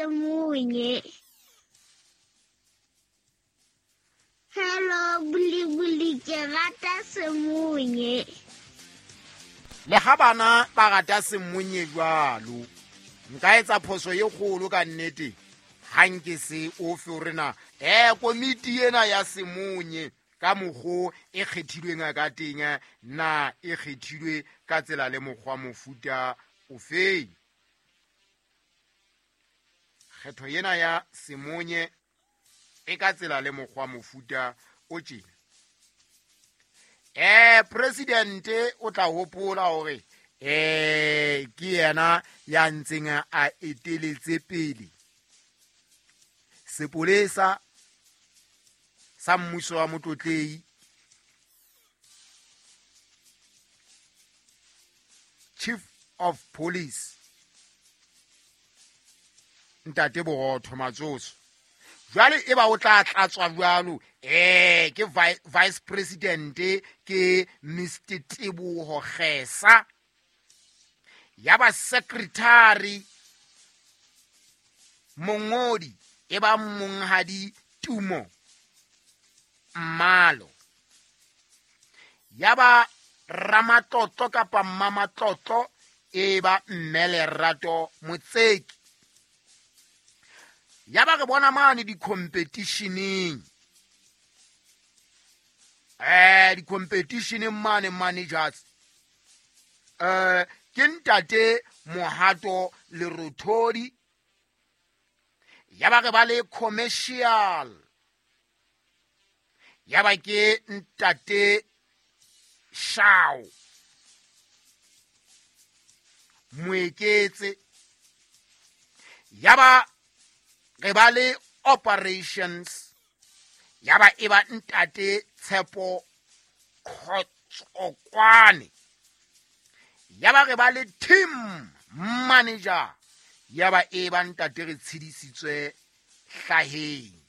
Semunye. Hello Bulibuli, ke rata Semunye. Le ha bana ba rata Semunye jwalo, nka etsa phoso e kgolo ka nnete ha nke se ofe hore na komiti ena ya Semunye ka mokgo e kgethilweng ka teng, na e kgethilwe ka tsela le mokgwa mofuta ofeng. Kgetho ena ya Semunye e ka tsela le mokgwa mofuta o tjena. Presidente o tla hopola hore ke yena ya ntseng a eteletse pele sepolesa sa mmuso wa Motlotlei, Chief of Police Ntate Borotho Matsoso. Jwale e ba o tla tlatswa jwalo, ke Vice President ke Mr Teboho Kgesa, ya ba secretary mongodi e ba monghadi Tumo Mmalo, ya ba ramatlotlo kapa mmamatlotlo e ba mme Lerato Motseki. Ya ba re bona mane di-competitioneng, di-competitioneng mane managers, ke ntate Mohato Lerothodi. Ya ba re ba le commercial, ya ba ke ntate Shao Moeketse. Ya ba re ba le operations, ya ba e ba ntate Tshepo Khotsokwane. Ya ba re ba le team manager, ya ba e ba ntate re tshedisitswe hlaheng.